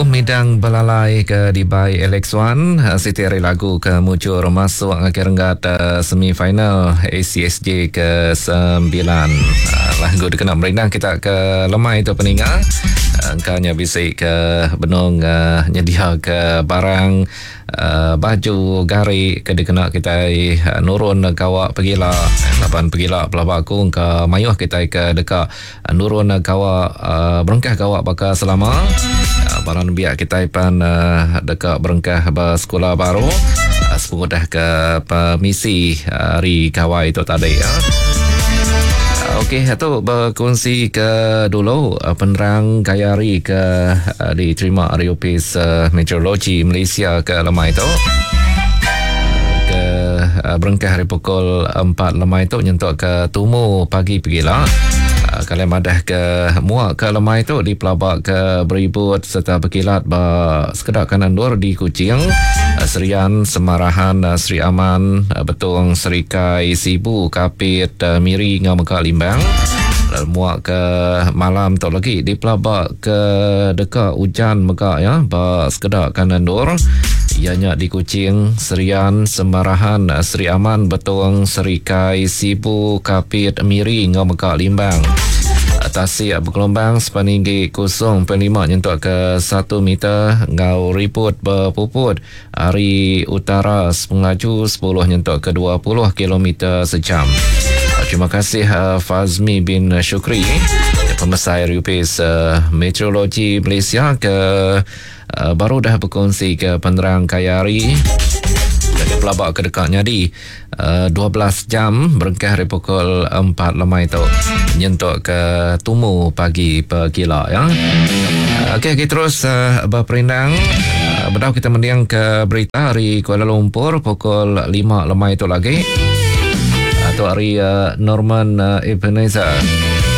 Midang Belalai ke dibai Alex Wan, siti ari lagu ke mujur masuk ngagai renggat semi final ACSJ ke sembilan. Lagu dikena merindang kita ke lemai tu peninga. Engka nya bisi ke benung nyediaka barang Baju gari ke dikena kitai nurun gawa pegila laban pegila pelaba aku engka mayuh kitai ke deka nurun gawa berengkah gawa baka selama. Bala nembiak kitai pan deka berengkah ba sekula baru sepengudah ke pemisi hari gawai tu tadi. Okey tu bekunsi ke dulu penerang gaya hari ke diterima ari opis Meteorologi Malaysia ke lemai tu ke berengkah ari pukul 4 lemai tu nyentuk ke tumu pagi pegila. Kalian madah ke mua ke lemai tu dipelaba ke beribut serta berkilat ba sekeda kanan endur di Kuching, Serian, Semarahan, Sri Aman, Betong, Serikai, Sibu, Kapit, Miri enggau mega Limbang. Lalu mua ke malam tu lagi dipelaba ke deka ujan mega ya ba sekeda kanan endur iya nya di Kuching, Serian, Semarahan, Sri Aman, Betong, Serikai, Sibu, Kapit, Miri enggau mega Limbang. Tasik begelombang sepeninggi 0.5 nyentuk ke 1 meter enggau ribut bepuput ari utara sepengelaju 10 nyentuk ke 20 kilometer sejam. Terima kasih Fazmi bin Shukri, pemesai Rupis Meteorologi Malaysia ke baru dah berkongsi ke penerang kaya hari pelaba ke deka nyadi 12 jam berengkah ari pukul 4 lemai tu nyentuk ke tumu pagi pegila ya. Okey kita terus uh, berperindang uh, bedau kita mending ke berita hari Kuala Lumpur pukul 5 lemai tu lagi. Atau hari uh, Norman uh, Ebenezer.